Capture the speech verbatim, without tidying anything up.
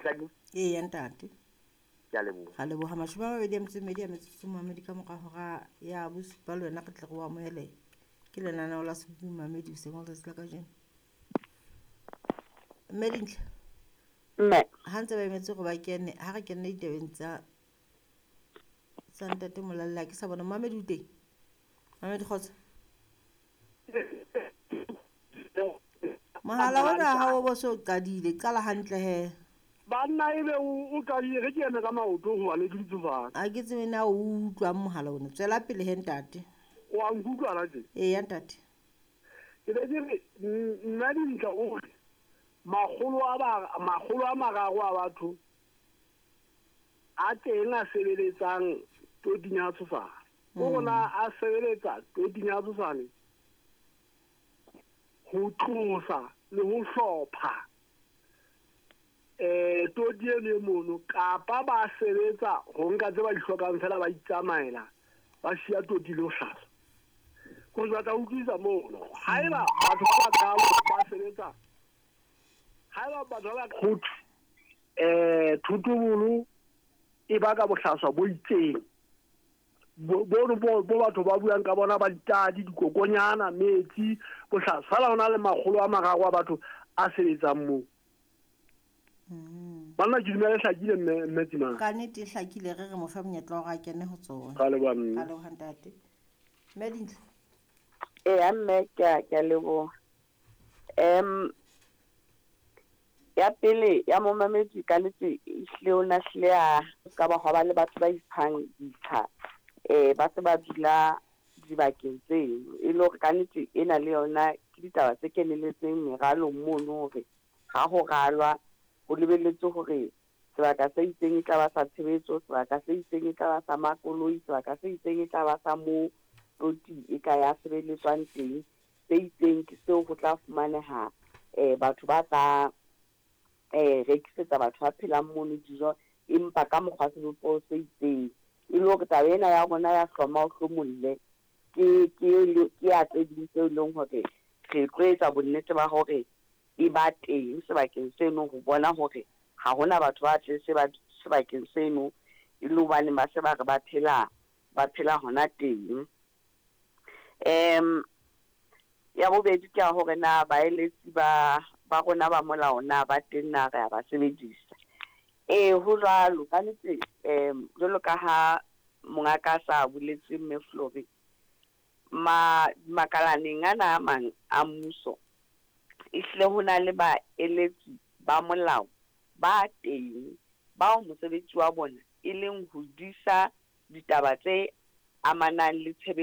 Hlakile? Eya ntate. Ke a leboha. Ra leboha. Mashome a mabedi a metso e mmedi a metsotso momamedi ka mora hora ya bosupa le wena re tle re o amohele. Ke lenaneo la Sebopi Momamedi hoseng wa letsatsi la kajeno. Mme Dintle. Mme. Ha ntse ba emetse hore ba kene, ha re kene ditabeng tsa tsa ntate Molalle, ha ke sa bona momamedi o teng. Momamedi kgotso. Mohala ona ha o bo so qadile, qala hantle he. Banna ebe o qadile re ke eme ka maoto hobane ke dutse fatshe. Ha ke tsebe na o utlwang mohala ona. Tswela pele he ntate. O a nkutlwa la tje? Eya ntate. Ke be ke re nna Dintle o re makgolo a ba makgolo a mararo a batho a teng a sebeletsang toting ya Tshosane. O rona a sebeletsa toting ya Tshosane ho tlosa le ho hlopha eh toti eno e mono, kapa ba sebetsa ho nka tse ba di hlokang fela ba itsamaela ba siya toti le ho hlaswa. Ko batla utlwisa mono haeba batho ba bakalo ba sebetsa, haeba batho ba ba ho thwe eh thotobolo e baka bohlaswa bo itseng bo bo bo batho ba buang ka bona ba ditadi dikokonyana metsi bohlaswa fela hona le makgolo a mararo a batho a sebetsang moo. Banna ke dumela e hlakile mme mme Tsimane. Ka nnete e hlakile, re re mo fe monyetla wa hore a kene ho tsona. Ka leboha mme. Ka leboha ntate. Mme Dintle. Eya mme, ke a ke a leboha. Em ya pele ya momamedi ka nnete ehlile o na hlile a ka ba hwa ba le batho ba iphang ditsha eh ba se ba dula dibakeng tseno, e le hore ka nnete ena le yona ke ditaba tse keneletseng meralong mono hore ha ho ralwa ho lebelletswe hore sebaka se itseng e tla ba sa tshebetso, sebaka se itseng e tla ba sa makoloi, sebaka se itseng e tla ba sa moo toti e ka ya sebeletswang teng, se itseng ke seo ho tla fumaneha eh batho ba tla eh rekisetsa batho ba phelang mono dijo, empa ka mokgwa sebopeho se itseng. E le hore taba ena ya rona ya hloma o hlomolle ke ke ke ya tse ding tseo e leng hore re tlo etsa bonnete ba hore e ba teng sebakeng seno, ho bona hore ha hona batho ba tle se ba sebakeng seno e le hobane ba se ba re ba phela ba phela hona teng. Em ya bobedi ke ya hore na baeletsi ba ba rona ba molao na ba teng na re a ba sebedisa. Ee, ho jwalo ka nnete. Em jwalo ka ha mongaka a sa boletse mme Flory, ma makalaneng ana a mang a mmuso ehlile ho na le baeletsi ba molao ba teng bao mosebetsi wa bona e leng ho disa ditaba tse amanang le tshebetso.